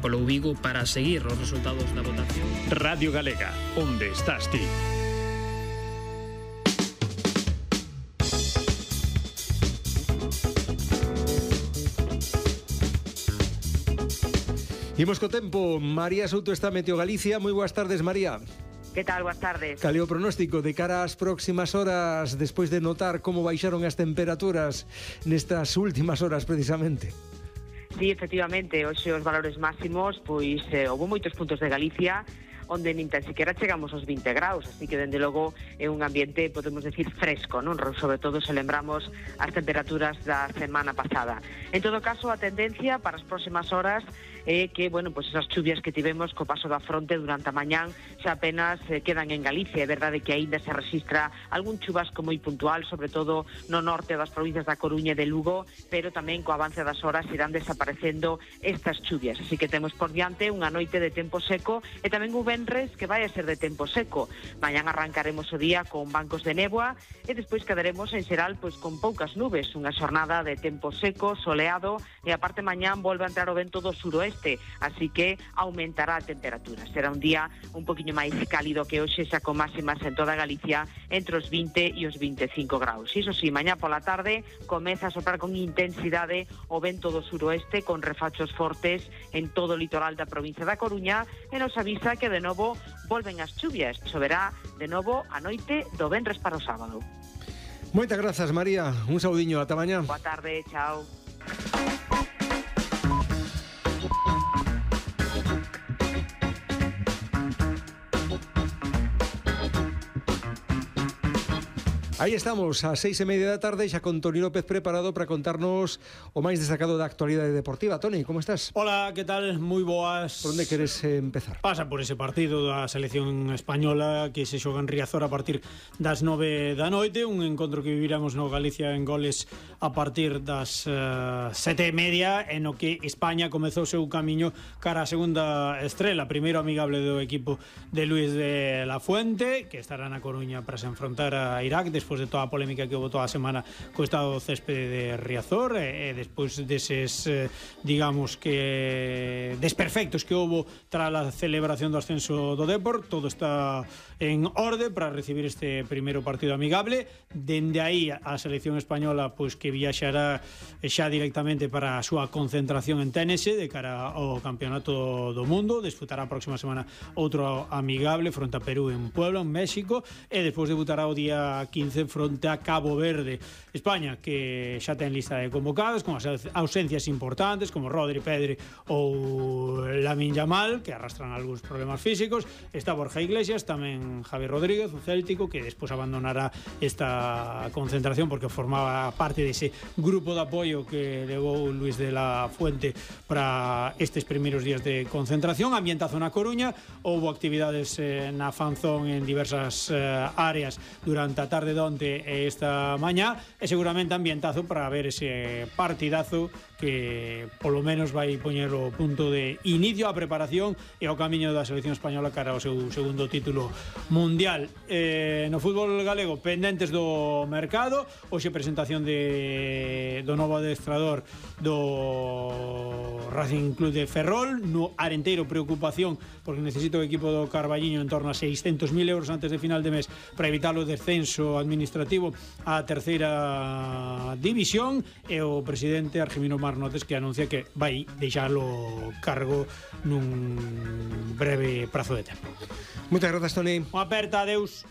polo Vigo para seguir os resultados da votación. Radio Galega, onde estás ti? Imos co tempo. María Souto está Meteo Galicia. Moi boas tardes, María. Que tal? Boas tardes. Cal é o pronóstico de cara ás próximas horas despois de notar como baixaron as temperaturas nestas últimas horas precisamente? Sí, efectivamente, hoxe os valores máximos, pois houve moitos puntos de Galicia onde nin tan siquiera chegamos aos 20 graus, así que dende logo é un ambiente, podemos decir, fresco, non? Sobre todo se lembramos as temperaturas da semana pasada. En todo caso, a tendencia para as próximas horas é que, bueno, pois esas chuvias que tivemos co paso da fronte durante a mañán xa apenas quedan en Galicia. É verdade que aínda se registra algún chubasco moi puntual, sobre todo no norte das provincias da Coruña e de Lugo, pero tamén co avance das horas irán desaparecendo estas chuvias. Así que temos por diante unha noite de tempo seco e tamén un venres que vai a ser de tempo seco. Mañán arrancaremos o día con bancos de néboa e despois quedaremos en xeral pois con poucas nubes, unha xornada de tempo seco, soleado e aparte mañán volve a entrar o vento do suroeste, así que aumentará a temperatura. Será un día un poquinho máis cálido que hoxe, xa con máximas en toda Galicia entre os 20 e os 25 graus. Iso sí, mañá pola tarde comeza a soprar con intensidade o vento do suroeste con refachos fortes en todo o litoral da provincia da Coruña e nos avisa que de novo volven as chuvias. Choverá de novo a noite do venres para o sábado. Moitas grazas, María. Un saudiño, ata mañá. Boa tarde, chao. Aí estamos, ás 6:30 da tarde, xa con Toni López preparado para contarnos o máis destacado da actualidade deportiva. Toni, como estás? Hola, que tal? Moi boas. Por onde queres empezar? Pasa por ese partido da selección española que se xoga en Riazor a partir das 9 da noite, un encontro que viviramos no Galicia en Goles a partir das 7:30, en o que España comezou o seu camiño cara a segunda estrela, primeiro amigable do equipo de Luis de la Fuente, que estará na Coruña para se enfrontar a Irak despois de toda a polémica que houve toda a semana co estado do céspede de Riazor e despois deses digamos que desperfectos que houve tras a celebración do ascenso do Depor. Todo está en orde para recibir este primeiro partido amigable. Dende aí a selección española pois que viaxará xa directamente para a súa concentración en Tennessee de cara ao campeonato do mundo. Disputará a próxima semana outro amigable fronte a Perú en Puebla, en México, e despois debutará o día 15 fronte a Cabo Verde. España que xa ten lista de convocados con as ausencias importantes como Rodri, Pedri ou Lamine Yamal, que arrastran algúns problemas físicos. Está Borja Iglesias, tamén Javi Rodríguez, o céltico, que despois abandonará esta concentración porque formaba parte dese grupo de apoio que levou Luis de la Fuente para estes primeiros días de concentración. Ambientazo na Coruña, houve actividades na Fanzón en diversas áreas durante a tarde de onte e esta mañá, e seguramente ambientazo para ver ese partidazo que polo menos vai poñer o punto de inicio á preparación e ao camiño da selección española cara ao seu segundo título mundial. No fútbol galego, pendentes do mercado, hoxe presentación do novo adestrador do Racing Club de Ferrol. No Arenteiro, preocupación porque necesita o equipo do Carballiño en torno a 600.000 euros antes de final de mes para evitar o descenso administrativo á terceira división, e o presidente Argemino Marnotes que anuncia que vai deixalo cargo nun breve prazo de tempo. Moitas grazas, Toni. Unha aperta, adeus.